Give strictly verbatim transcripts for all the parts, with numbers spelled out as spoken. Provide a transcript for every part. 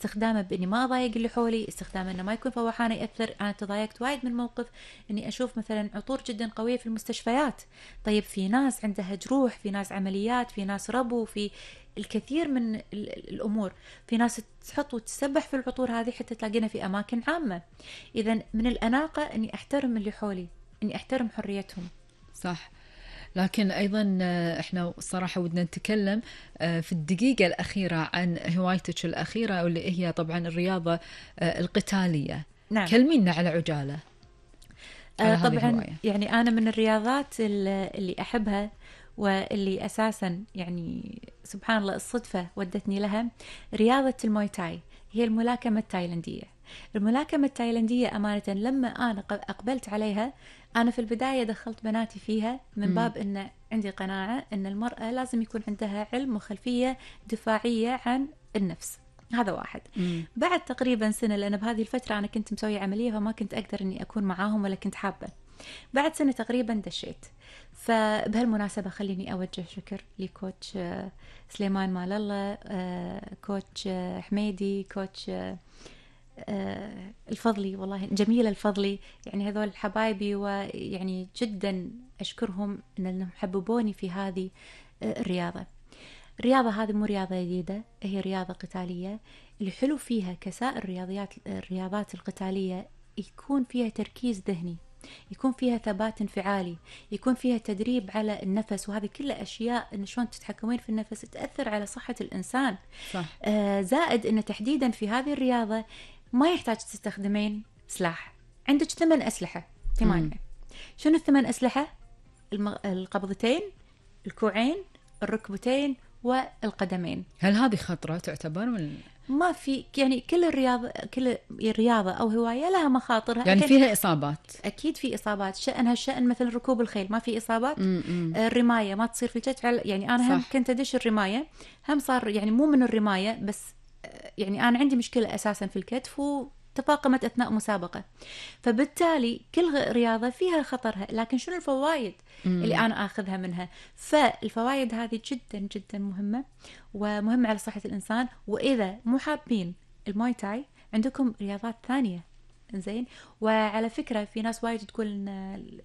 استخدامه بإني ما أضايق اللي حولي، استخدامه إنه ما يكون فواحانة يأثر. أنا تضايقت وايد من موقف إني أشوف مثلا عطور جدا قوية في المستشفيات. طيب في ناس عندها جروح، في ناس عمليات، في ناس ربو، في الكثير من الأمور، في ناس تحط وتسبح في العطور هذه حتى تلاقينا في أماكن عامة. إذا من الأناقة إني أحترم اللي حولي، إني أحترم حريتهم. صح. لكن أيضا إحنا صراحة ودنا نتكلم في الدقيقة الأخيرة عن هوايتك الأخيرة واللي هي طبعا الرياضة القتالية. نعم. كلمينا على عجالة على طبعا الهواية. يعني أنا من الرياضات اللي أحبها واللي أساسا يعني سبحان الله الصدفة ودتني لها رياضة الموي تاي، هي الملاكمة التايلندية. الملاكمة التايلندية أمانة لما أنا أقبلت عليها، أنا في البداية دخلت بناتي فيها من باب أن عندي قناعة أن المرأة لازم يكون عندها علم وخلفية دفاعية عن النفس. هذا واحد. مم. بعد تقريبا سنة، لأن بهذه الفترة أنا كنت مسوية عملية فما كنت أقدر أني أكون معاهم ولا كنت حابة. بعد سنة تقريبا دشيت. فبهالمناسبة خليني أوجه شكر لكوتش سليمان مال الله، كوتش حميدي، كوتش الفضلي، والله جميلة الفضلي، يعني هذول حبايبي، ويعني جدا أشكرهم أنهم حببوني في هذه الرياضة. الرياضة هذه مو رياضة جديدة، هي رياضة قتالية. اللي حلو فيها كسائر الرياضيات الرياضات القتالية يكون فيها تركيز ذهني، يكون فيها ثبات انفعالي، يكون فيها تدريب على النفس، وهذه كلها أشياء إن شلون تتحكمين في النفس تأثر على صحة الإنسان. صح. آه زائد إن تحديدا في هذه الرياضة ما يحتاج تستخدمين سلاح، عندك ثمان أسلحة، ثمانية. شنو الثمان أسلحة؟ المغ... القبضتين، الكوعين، الركبتين، والقدمين. هل هذه خطرة تعتبر من... ما في يعني كل الرياضة كل رياضة أو هواية لها مخاطرها، يعني فيها إصابات. أكيد في إصابات. شأنها الشأن مثل ركوب الخيل ما في إصابات. م -م. الرماية ما تصير في الكتف، يعني أنا هم كنت أدش الرماية، هم صار يعني مو من الرماية بس، يعني أنا عندي مشكلة أساسا في الكتف وتفاقمت أثناء مسابقة، فبالتالي كل رياضة فيها خطرها. لكن شنو الفوائد مم. اللي أنا أخذها منها؟ فالفوائد هذه جدا جدا مهمة ومهمة على صحة الإنسان. وإذا مو حابين الموي تاي عندكم رياضات ثانية، زين. وعلى فكرة في ناس وايد تقول إن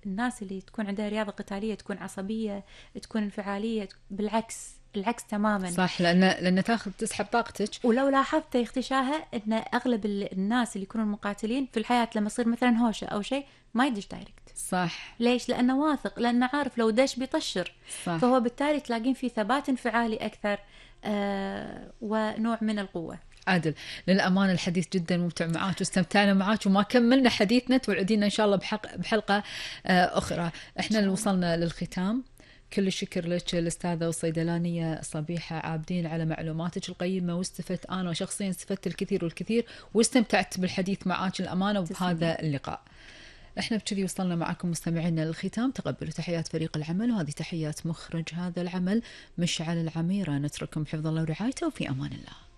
الناس اللي تكون عندها رياضة قتالية تكون عصبية، تكون انفعالية. بالعكس، العكس تماما. صح، لأن لأن تاخذ تسحب طاقتك. ولو لاحظت يا اختي شاهة إن أغلب الناس اللي يكونوا مقاتلين في الحياة لما يصير مثلا هوشة أو شيء ما يدش دايركت. صح. ليش؟ لأنه واثق، لأنه عارف لو دش بيطشر. صح. فهو بالتالي تلاقين فيه ثبات انفعالي أكثر، آه ونوع من القوة. عادل، للأمانة الحديث جدا ممتع معاك واستمتعنا معاك وما كملنا حديثنا، توعدينا إن شاء الله بحق بحلقة آه أخرى. إحنا اللي وصلنا للختام. كل الشكر لك الأستاذة والصيدلانية صبيحة عابدين على معلوماتك القيمة، واستفدت أنا وشخصيا استفدت الكثير والكثير واستمتعت بالحديث معاك الأمانة وبهذا اللقاء. احنا بكذي وصلنا معكم مستمعينا للختام. تقبلوا تحيات فريق العمل، وهذه تحيات مخرج هذا العمل مشعل العميرة. نترككم بحفظ الله ورعايته وفي أمان الله.